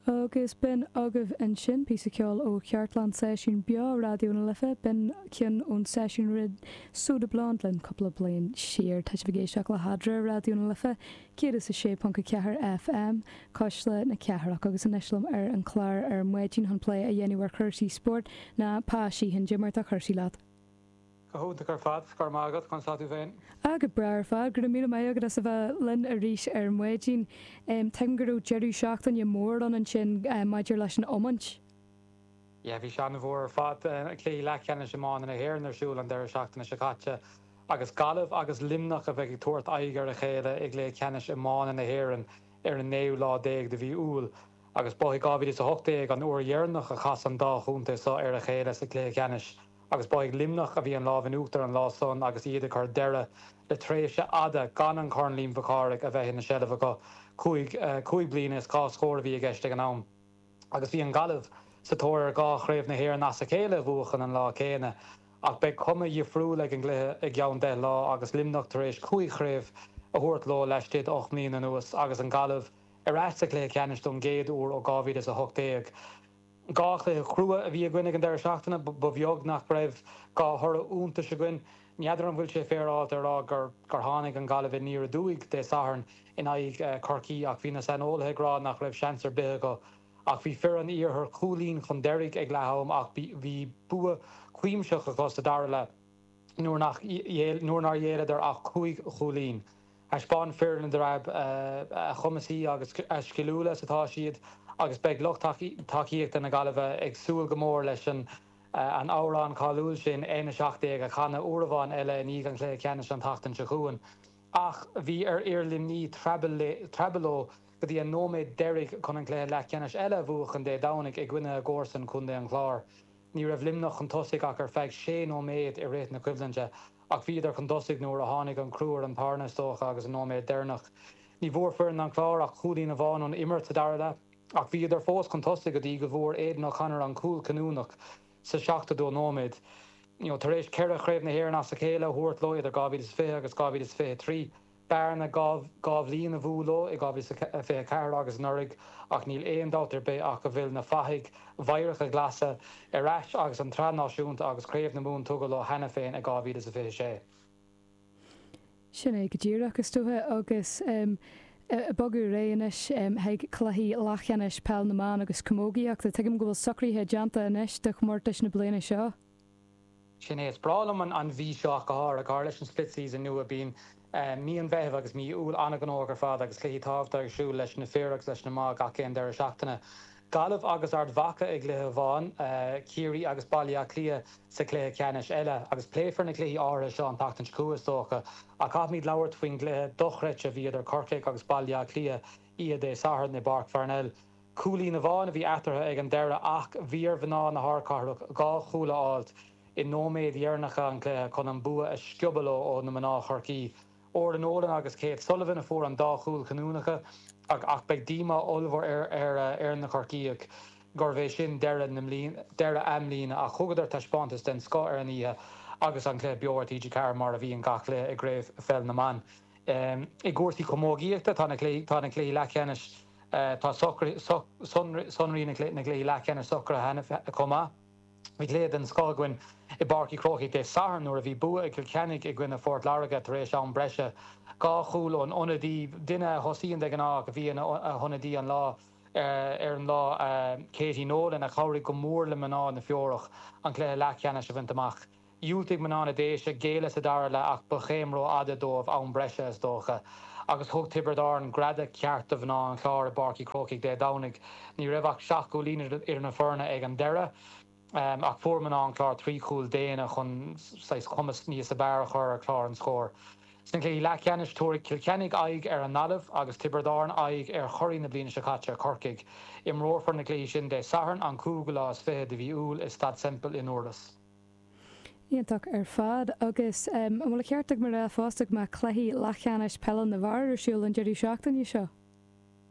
Agus b'in agaibh ansin píosa ceoil ó chartlann seisiún beo Raidió na Life. B'in ceann ón seisiún a rinne Soda Blonde linn cúpla bliain siar. Tá sibh ag éisteacht le hEadra Raidió na Life, 106.4 FM, Cuisle na Cathrach. Agus anois liom ar an chlár ar maidin chun plé a dhéanamh ar chúrsaí spóirt ná Pa Sheehan. Cad é mar atá cúrsaí leat. Go hiontach ar fad, go raibh maith agat, conas tá tú féin? Ah, go breá ar fad, go raibh míle maith agat as a bheith linn arís ar maidin. Tuigim go raibh deireadh seachtaine mór ann ansin maidir leis an iomáint. Yeah, bhí sé an-mhór ar fad. Cluichí leathcheannais iomána na hÉireann ar siúl an deireadh seachtaine seo caite agus Gaillimh agus Luimneach a bheidh ag tabhairt aghaidh ar a chéile i gcluiche ceannais iomána na hÉireann ar an naoú lá déag de mhí Iúil. Agus ba i 2018 an uair dheireanach a chas an dá chontae seo ar a chéile sa chluiche ceannais. Agus ba ag Luimneach a bhí an lámh in uachtar an lá san agus iad ag cur deireadh le tréimhse fhada gan an Corn Liam Mhic Cárthaigh a bheith ina seilbh acu, 5 bliana is 2 scór a bhí i gceist ag an am. Agus bhí an Ghaillimh sa tóir ar 2 chraobh na hÉireann as a chéile a bhuachan an lá céanna. Ach beidh cuma dhifriúil ag an gcluiche i gceann 10 lá agus Luimneach tar éis 5 chraobh a thabhairt leo laistigh d'8 mbliana anuas agus an Ghaillimh ar ais sa chluiche ceannais don gcéad uair ó 2018. 2 chluiche chrua a bhí againn ag an deireadh seachtaine. Ba bheag nach raibh 2 thoradh iontais againn. N'fheadar an bhfuil sé féaráilte a rá gur tháinig an Ghaillimh aniar aduaidh Dé Sathairn in aghaidh Chorcaí ach bhí na saineolaithe ag rá nach raibh seans ar bith acu. Ach bhí fir an iarthair cúilín chun deiridh ag leath am ach bhí bua cuimsitheach acu sa dara leath nuair nár ghéilleadar ach 5 chúilín. Thaispeáin fir na dTreabh a chumasaí agus a sciliúla is atá siad agus beidh lucht tacaíochta na Gaillimhe ag súil go mór leis an amhrán cáiliúil sin N17 a chanadh uair amháin eile i ndiaidh an chluiche ceannais an tseachtain seo chugainn. Ach bhí ar fhir Luimnigh treabhadh leo go dtí an nóiméad deiridh chun an cluiche leathcheannais eile a bhuachan Dé Domhnaigh i gcoinne a gcomharsan, Contae an Chláir. Ní raibh Luimneach chun tosaigh ach ar feadh sé nóiméad i rith na coimhlinte ach bhíodar chun tosaigh nuair a tháinig an crú ar an tairne, is dócha, agus an nóiméad deireanach. Ní bhfuair foireann an Chláir ach cúilín amháin ón imirt sa dara leath ach bhíodar fós chun tosaigh go dtí go bhfuair Aidan O'Connor an cúl cinniúnach sa 72 nóiméad. Tar éis 4 Chraobh na hÉireann as a chéile a thabhairt leo idir 2020 agus 2023, Bearna 2 bhliain a bhuail leo i 2024 agus anuraidh ach níl aon dabht ar bith ach go bhfuil na fathaigh mheidhreacha ghlasa ar ais agus an tsraith náisiúnta agus Craobh na Mumhan tugtha leo cheana féin i 2026. Sin é go díreach, is dócha, agus ag bogadh ar aghaidh anois chuig cluichí leathcheannais Peil na mBan agus Camógaíochta. Tuigim go bhfuil socruithe déanta anois do chomórtais na bliana seo. Sin é. Is breá liom an mhí seo ach go háirithe, go háirithe leis an split season nua. Bíonn mí an Mheithimh agus mí Iúil an-ghnóthach ar fad agus cluichí tábhachtacha ar siúl leis na fir agus leis na mná gach aon deireadh seachtaine. Gaillimh agus Ard Mhacha i gcluiche amháin, Ciarraí agus Baile Átha Cliath sa chluiche ceannais eile. Agus pléifear na cluichí áirithe seo an tseachtain seo chugainn is dócha, ach caithfimid labhairt faoin gcluiche dochreidte a bhí idir Corcaigh agus Baile Átha Cliath oíche Dé Sathairn i bPáirc Pharnell. Cúilín amháin a bhí eatarthu ag an deireadh ach bhí ar mhná na hardchathrach 2 chúl a fháilt i nóiméid dheireanacha an chluiche chun an bua a sciobadh leo ó na mná Chorcaí. Orla Nolan agus Kate Sullivan a fuair an dá chúl chinniúnacha ach beidh díomá ollmhór ar ar na Corcaígh gurbh é sin deireadh na deireadh a mbliana ach thugadar taispeántas den scoth ar an oíche agus an cluiche beo ar TG4 mar a bhíonn gach cluiche i gCraobh Pheil na mBan. I gcúrsaí camógaíochta tá na cluichí leathcheannais Tá sonraí na gcluichí leathcheannais socraithe cheana chomh maith. Bhí cluiche den scoth againn i bPáirc Uí Chrócaigh Dé Sathairn nuair a bhí bua ag Cill Chainnigh i gcoinne Phort Láirge tar éis am breise. 2 chúl ón ionadaí, duine a thosaíonn de ghnáth ach a bhí ina hionadaí an lá ar an lá, Katie Nolan, a chabhraigh go mór le mná na Feorach an cluiche leathcheannais a bhaint amach. Dhiúltaigh mná na Déise géilleadh sa dara leath ach ba chéim rófhada dóibh, am breise is dócha, agus thug Tiobraid Árann greadadh ceart do mhná an Chláir i bPáirc Uí Chrócaigh Dé Domhnaigh. Ní raibh ach 7 gcúilín idir na foirne ag an deireadh ach fuair mná an Chláir 3 chúl déine chun saghas cumas níos fearr a chur ar chlár an scóir. Sna cluichí leathcheannais, tabharfaidh Cill Chainnigh aghaidh ar an nGaillimh agus Tiobraid Árann aghaidh ar churaidh na bliana seo caite, Corcaigh. Imreofar na cluichí sin Dé Sathairn, an cúigiú lá is fiche de mhí Iúil i Staid Semple i nDurlas. Iontach ar fad. Agus an bhfuil an ceart agam a rá fosta go mbeadh cluichí leathcheannais peile na bhfear ar siúl an deireadh seachtaine seo?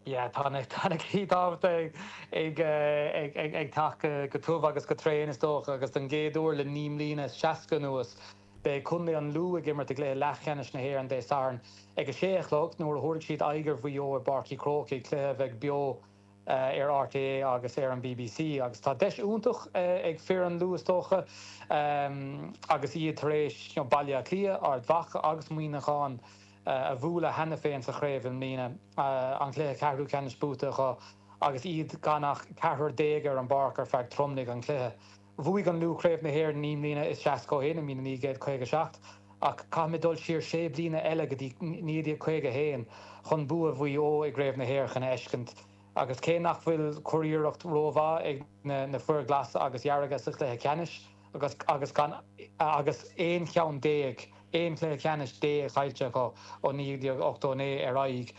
Yeah, tá na tá na cluichí tábhachtacha ag ag ag ag teacht go tiubh agus go tréan is dócha agus don gcéad uair le 9 mbliana is 60 anuas beidh Contae an Lú ag imirt i gcluiche leathcheannais na hÉireann Dé Sathairn ag 6 a chlog nuair a thabharfaidh siad aghaidh ar Mhaigh Eo i bPáirc Uí Chrócaigh, cluiche a bheidh beo. ar RTÉ agus ar an bbc agus tá deis iontach ag fir an Lú is dócha agus iad tar éis Baile Átha Cliath, Ard Mhacha agus Muineachán a bhualadh cheana féin sa chraobh i mbliana, an cluiche ceathrú ceannais buaite acu agus iad gan ach ceathrar déag ar an bpáirc ar feadh tromlaigh an chluiche. Bhuaigh an Lú Craobh na hÉireann 9 mbliana is 60 ó shin, i mí 1957, ach caithfimid dul siar sé bliana eile go dtí 1951 chun bua Mhaigh Eo i gCraobh na hÉireann a fheiscint. Agus cé nach bhfuil curiarracht rómhaith ag na fir ghlasa agus dhearga sa chluiche ceannais, agus agus gan agus 11 cheann, 11 chluiche ceannais caillte acu ó 1989 ar aghaidh,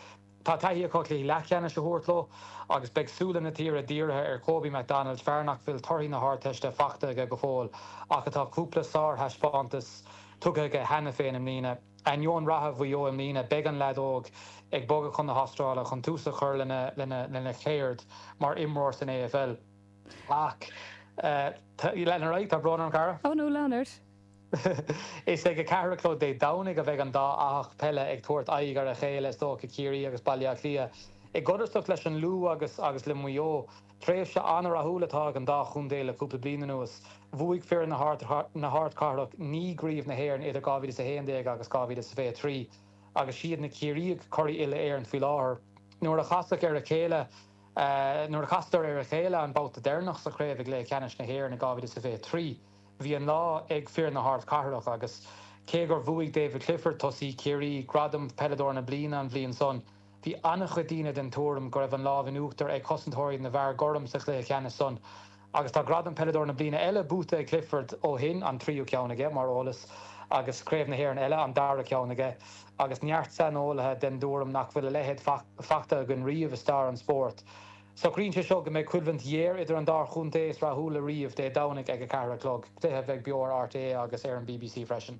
Tá taithí acu cluichí leathcheannais a thabhairt leo agus beidh súile na tíre dírithe ar Kobe McDonald, fear nach bhfuil torthaí na hArdteiste faighte aige go fóill ach atá cúpla sárthaispeántas tugtha aige cheana féin i mbliana. Ainneoin ratha Mhaigh Eo i mbliana, beidh an leaid óg ag bogadh chun na hAstráile chun tús a chur lena cheird mar imreoir san AFL. Ach lean ar aghaidh, tá brón orm, cara. Oh no, lean ort. Is ag 4 a chlog Dé Domhnaigh a bheidh an dá fhathach peile ag tabhairt aghaidh ar a chéile, is dócha, Ciarraí agus Baile Átha Cliath. I gcodarsnacht leis an Lú agus agus le Maigh Eo, tréimhse an-rathúil atá ag an dá chontae le cúpla bliain anuas. Bhuaigh fir na hArdchathrach 9 gcraobh na hÉireann idir 2011 agus 2023 agus siad na Ciarraígh curaidh uile-Éireann faoi láthair. Nuair a casadh ar a chéile nuair a chasadar ar a chéile an babhta deireanach sa chraobh i gcluiche ceannais na hÉireann i 2023, Bhí an lá ag fir na hardchathrach agus cé gur bhuaigh David Clifford, tosaí Chiarraí, gradam Peileadóir na Bliana an bhliain san, bhí an-chuid daoine den tuairim go raibh an lámh in uachtar ag cosantóirí na bhfear gorm sa chluiche ceannais san. Agus tá gradam Peileadóir na Bliana eile buaite ag Clifford ó shin, an tríú ceann aige, mar eolas, agus Craobh na hÉireann eile, an dara ceann aige, agus neart saineolaithe den dtuairim nach bhfuil a leithéid fachta againn riamh i stair an spóirt. Socraíonn sé seo go mbeidh coimhlint ghéar idir an dá chontae is rathúla riamh Dé Domhnaigh ag 4 a chlog, cluiche a bheidh beo ar RTÉ agus ar an bbc freisin.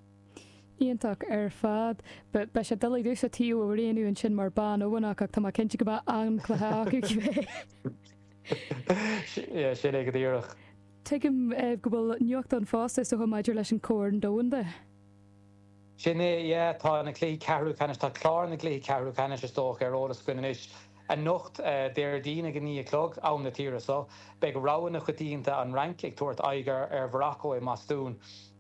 Iontach ar fad. Beidh sé doiligh domhsa taobh a roghnú ansin mar bhanóganach ach tá mé cinnte go mbeidh an-chluiche acu cibé. Sin é go díreach. Tuigim go bhfuil nuacht ann fosta is dócha maidir leis an Chorn Domhanda. Sin é, yeah, tá na cluichí ceathrú ceannais, tá clár na gcluichí ceathrú ceannais is dócha ar eolas againn anois. Anocht, Déardaoin ag 9 a chlog, am na tíre so, beidh rogha na coitianta, an Fhrainc, ag tabhairt aghaidh ar Mhorocco i mBostún,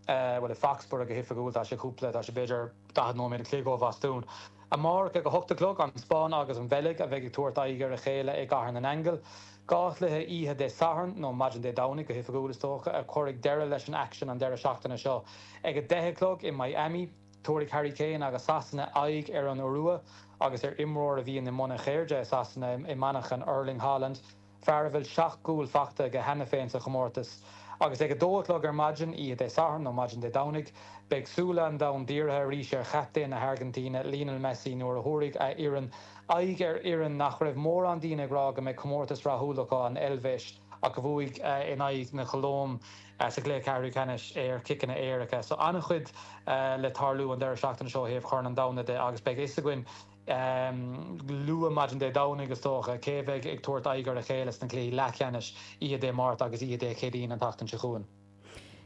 bhuel, i Foxborough go hoifigiúil, tá sé cúpla, tá sé b'fhéidir 40 nóiméad a chloig ó Bhostún. Amárach ag 8 a chlog, an Spáinn agus an Bheilg a bheidh ag tabhairt aghaidh ar a chéile i gCathair na nAingeal. Dhá chluiche oíche Dé Sathairn, nó maidin Dé Domhnaigh go hoifigiúil is dócha, a chuirfidh deireadh leis an aicsean an deireadh seachtaine seo. Ag 10 a chlog i Miami, tabharfaidh Harry Kane agus Sasana aghaidh ar an Iorua agus ar imreoir a bhíonn i mbun a cheirde i Sasana i mainichin Erling Haaland. fear a bhfuil 7 gcúl fachta aige cheana féin sa chomórtas. Agus ag 2 a chlog ar maidin, oíche Dé Sathairn nó maidin Dé Domhnaigh, beidh súile an domhain dírithe arís ar chaptaen na hAirgintíne, Lionel Messi, nuair a thabharfaidh a fhoireann aghaidh ar fhoireann nach raibh mórán daoine ag rá go mbeidh comórtas rathúil acu, an Eilvéis, ach a bhuaigh in aghaidh na Colóime sa gcluiche ceathrú ceannais ar chiceanna éirice. So an-chuid le tarlú an deireadh seachtaine seo ó thaobh Chorn an Domhain de agus beidh a fhios againn luath maidin Dé Domhnaigh, is dócha, cé a bheidh ag tabhairt aghaidh ar a chéile sna cluichí leathcheannais oíche Dé Máirt agus oíche Dé Céadaoin an tseachtain seo chugainn.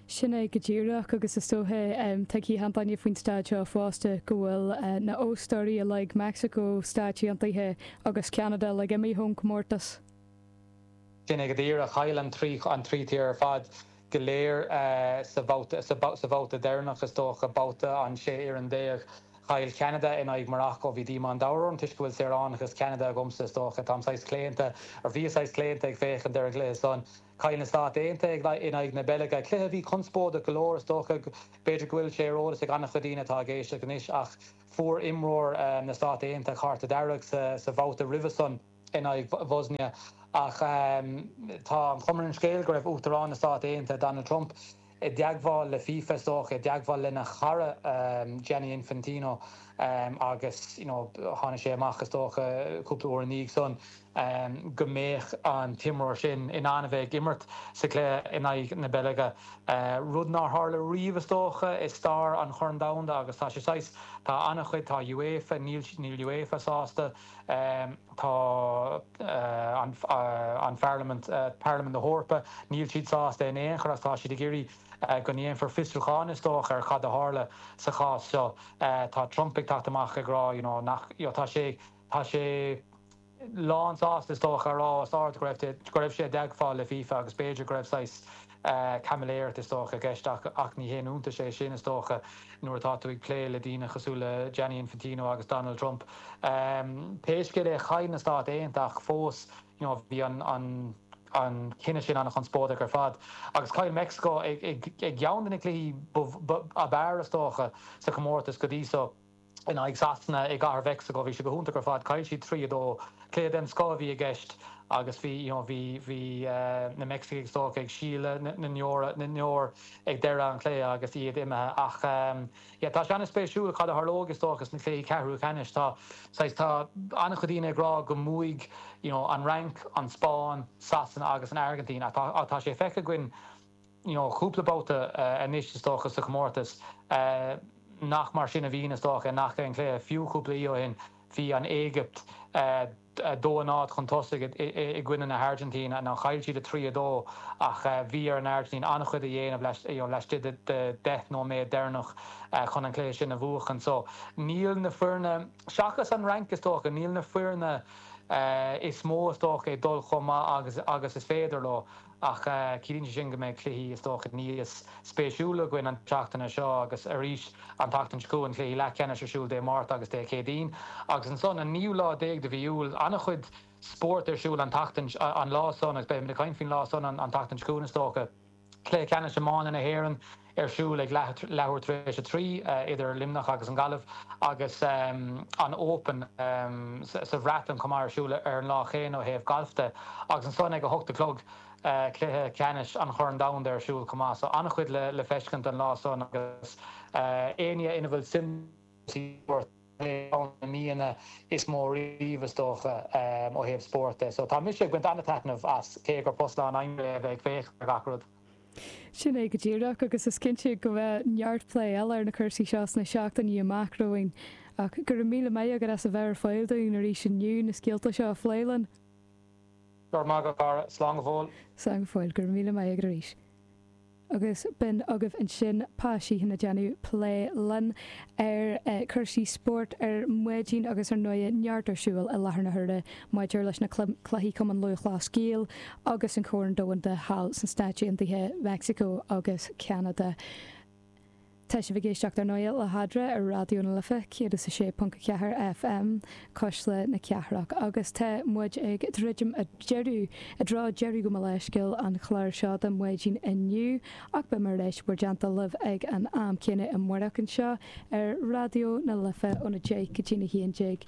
Sin é go díreach, agus is dócha, tuigfidh achan duine faoin staid seo fosta, go bhfuil na hóstóirí uilig, Meicsiceo, Stáit Aontaithe agus Ceanada uilig imithe ón chomórtas. Sin é go díreach. Chaill an trí tír ar fad go léir sa bhabhta deireanach, is dócha, babhta an 16 fhoireann. Chaill Ceanada in aghaidh Morocco. Bhí díomá an domhain orm toisc go bhfuil saoránachas Cheanada agamsa, is dócha. Táim saghas claonta, or bhíos saghas claonta ag féachaint ar an gcluiche san. Chaill na Stáit Aontaithe in aghaidh na Beilge. Cluiche a bhí conspóideach go leor, is dócha. B'fhéidir go bhfuil sé ar eolas ag an-chuid daoine atá ag éisteacht anois ach fuair imreoir na Stát Aontaithe cárta dearg sa bhabhta roimhe san. in aghaidh Bhosnia. Ach tá an chuma ar an scéal go raibh Uachtarán na Stát Aontaithe, Donald Trump, i dteagmháil le FIFA, is dócha, i dteagmháil lena chara Gianni Infantino agus you know tháinig sé amach, is dócha, cúpla uair ina dhiaidh san go mbeadh an t-imreoir sin in ann a bheith ag imirt sa chluiche in aghaidh na Beilge, rud nár tharla riamh, is dócha, i stair an Chorn Domhanda agus tá sé saghas, tá an-chuid, tá UEFA, níl, níl UEFA sásta. Tá an Pharlaimint, Parlaimint na hEorpa, níl siad sásta in aon chor agus tá siad ag iarraidh go ndéanfar fiosrúchán is dócha ar cad a tharla sa chás seo. Tá Trump ag teacht amach ag rá you know nach, you know tá sé, tá sé. lánsásta is dócha a rá os ard go raibh go raibh sé i dteagmháil le FIFA agus b'fhéidir go raibh saghas caimiléireacht is dócha i gceist ach ach ní haon iontas é sin is dócha nuair atá tú ag plé le daoine cosúil le Gianni Infantino agus Donald Trump. Pé scéal é chaill na Stáit Aontaithe ach fós you know bhí an an an cinneadh sin an-chonspóideach ar fad agus chaill Meicsiceo ag ag ag ceann de na cluichí ab fhearr is dócha sa chomórtas go dtí so. in aghaidh Sasana i gCathair Mheicsiceo. Bhí sé go hiontach ar fad. Chaill siad 3, 2. Cluiche den scoth a bhí i gceist agus bhí, you know, bhí, bhí na Meicsicigh is dócha ag sileadh na ndeor, na ndeor ag deireadh an chluiche agus iad imithe. Ach yeah, tá sé an-spéisiúil cad a tharlóidh is dócha sna cluichí ceathrú ceannais. Tá, saghas, tá an-chuid daoine ag rá go mbuafaidh, you know, an Fhrainc, an Spáinn, Sasana agus an Airgintín ach tá, tá sé feicthe againn, you know cúpla babhta anois is dócha sa chomórtas nach mar sin a bhíonn is dócha i ngach aon chluiche. Fiú cúpla oíche ó shin bhí an Éigipt 2, 0 chun tosaigh i gcoinne na hAirgintíne. Now chaill siad 3, 2 ach bhí ar an Airgintín an-chuid a dhéanamh you know laistigh de 10 nóiméad deireanach chun an cluiche sin a bhuachan. So níl na foirne, seachas an Fhrainc is dócha, níl na foirne is mó is dócha ag dul chomh maith agus agus is féidir leo. Ach ciallaíonn sé sin go mbeidh cluichí, is dócha, níos spéisiúla againn an tseachtain seo agus arís an tseachtain seo chugainn, cluichí leathcheannais ar siúl Dé Máirt agus Dé Céadaoin. Agus ansan, an naoú lá déag de mhí Iúil, an-chuid spóirt ar siúl an tseachtain, an lá san, agus beimid ag caint faoin lá san an tseachtain seo chugainn, is dócha. Cluiche ceannais iomána na hÉireann ar siúl ag leathuair tar éis a 3 idir Luimneach agus an Ghaillimh agus an Open sa Bhreatain chomh maith ar siúl ar an lá chéanna ó thaobh gailf de agus ansan ag 8 a chlog cluiche ceannais an Chorn Domhanda ar siúl chomh maith. So an-chuid le feiscint an lá san agus éinne ina bhfuil suim sa spórt ceann de na míonna is mó riamh is dócha ó thaobh spóirt de. So tá mise ag baint an-taitneamh as, cé gur post lánaimseartha é a bheith ag féachaint ar gach rud. Sin é go díreach, agus is cinnte go mbeidh neart plé eile ar na cúrsaí seo sna seachtainí amach romhainn. Ach go raibh míle maith agat as a bheith ar fáil dúinn arís inniu na scéalta seo a phlé linn. Go raibh maith agat, a chara. Slán go fóill. Slán go fóill. Go raibh míle maith agat arís. Agus b'in agaibh ansin Pa Sheehan ag déanamh plé linn ar chúrsaí spóirt ar maidin agus ar ndóigh neart ar siúl i láthair na huaire maidir leis na cluichí Cumann Lúthchleas Gael agus an Corn Domhanda thall sna Stáit Aontaithe, Meicsiceo agus Ceanada. Tá sibh ag éisteacht ar ndóigh le hEadra ar Raidió na Life 106.4 FM, Cuisle na Cathrach, agus tá muid ag druidim i deireadh, i dtreo deireadh gabh mo leithscéal an chláir seo don mhaidin inniu, ach beidh mé ar ais i bhur dteannta libh ag an am céanna amárach anseo ar Raidió na Life óna 10 go dtí'n 11.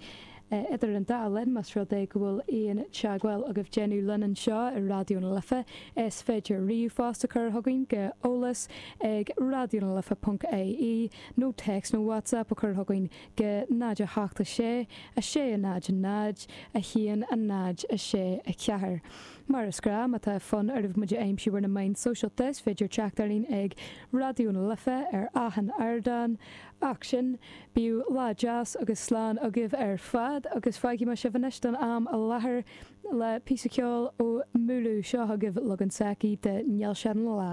Idir an dá linn, más rud é go bhfuil aon teagmháil agaibh déanamh linn anseo i Raidió na Life, is féidir ríomhphost a chur chugainn go eolas ag raidionalife ponc ie nó téacs nó WhatsApp a chur chugainn go 0 8 6 6 0 0 1 0 6 4. Mar is gnáth, má tá fonn oraibh muid a aimsiú ar na meáin sóisialta, is féidir teacht orainn ag Raidió na Life ar achan ardán. Ach sin, bíodh lá deas agus slán agaibh ar fad agus fágfaidh mé sibh anois don am i láthair le píosa ceoil ó Múlú. Seo chugaibh leagan s'aici de Níl Sé Ina Lá.